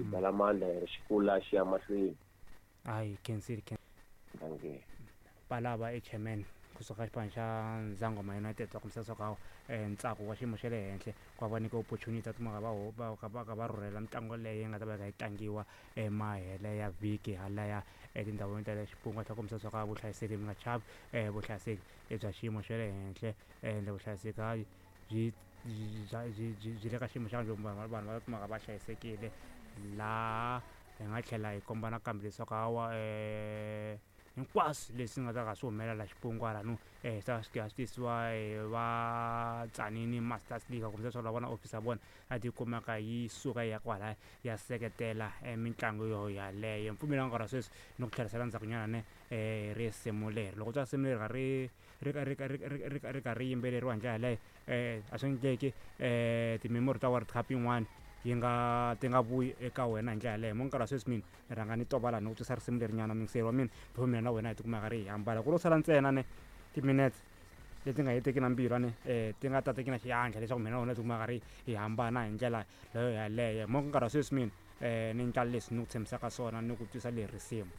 Xigalamanda xi kula xi ya mahlweni. Hayi khensile. Dankie. Palava i chairman kusuka xipano xa Nzangoma United va kombisa leswaku hawa ntsako wa xiyimo xa le henhla ku va va nyika opportunity va tikuma va va va va va rhurhela mitlangu leyi nga ta va yi kha yi tlangiwa emahele ya vhiki halaya etindhawini ta le Xipungu va tlhela kombisa leswaku a vuhlayiseki mi nga chavi vuhlayiseki i bya xiyimo xa le henhla ende vuhlayiseki hayi byi byi byi byi le ka xiyimo xa njhani vanhu vanhu va kumaka va hlayisekile laha hi nga tlhela hi komba nakambe leswaku hawa hinkwaswo leswi nga ta ka swi humelela xipungwana no swi ta swi swi tisiwa hi va Tzaneen Masters League kumbe leswaku la vona office ya vona a ti kumeka yi suka yi ya kwalaya ya seketela mitlangu yo yaleyo mpfumelo wa nkarhi wa sweswi ni ku tlherisela ndzhakunyana ne risimu leri loko twa risimu leri ka ri ri ka ri ka ri ri ri ri karhi ri yimbeleriwa hi ndlela yaleyo a swi endleki ti-memory ta World Cup yin'wani yi nga ti nga vuyi eka wena hi ndlela yaleyo mo nkarhi wa sweswi mina ni rhanga ni twa ni ku twisa risimu leri nyana muyingiseri wa mina before mina na wena hi tikuma karhi hi hambana ku lo sala ntsena ne timinetse leti nga heteki na mbilu ne ti nga tateki na xiandla leswaku mina na wena hi tikuma karhi hi hambana hi ndlela leyo yaleyo mo nkarhi wa sweswi mina ni endla leswi ni ku tshembisaka swona ni ku twisa leri risimu.